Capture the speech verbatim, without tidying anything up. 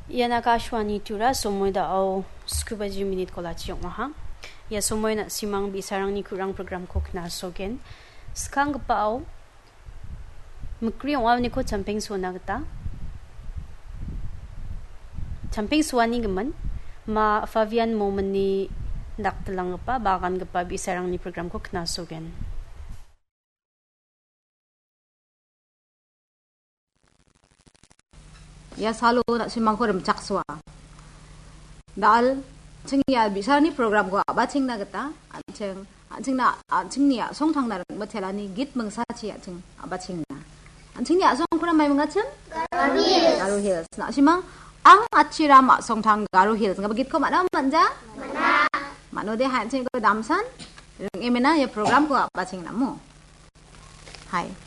Ian Akashvani Tura, somoi da·o sku baji minit kolachi ong·aha. Ia somoi na·simang bi·sarangni kurang programko knasogen. Skanggipao mikri ong·aoniko champeng suona gita, champeng suani gimin, ma Fabian Momini daktilanggipa bagangipa bi·sarangni programko knasogen. Ia salo na·simangko rimchaksoa. Da·al, an·ching ia bi·sarangni programko a·bachengna gita, an·ching, an·chingna, an·chingni a·songtangna ringmitelani git mingsachi an·ching a·bachengna. An·chingni a·songkora maimingachim? Garo Hills. Garo Hills. Na·simang, ang achiram a·songtang Garo Hills. Ngaba gitko man·a manja? Man·a. Mano de an·chingko damsan? Ring·emena ia programko a·bachengnamo. Hai.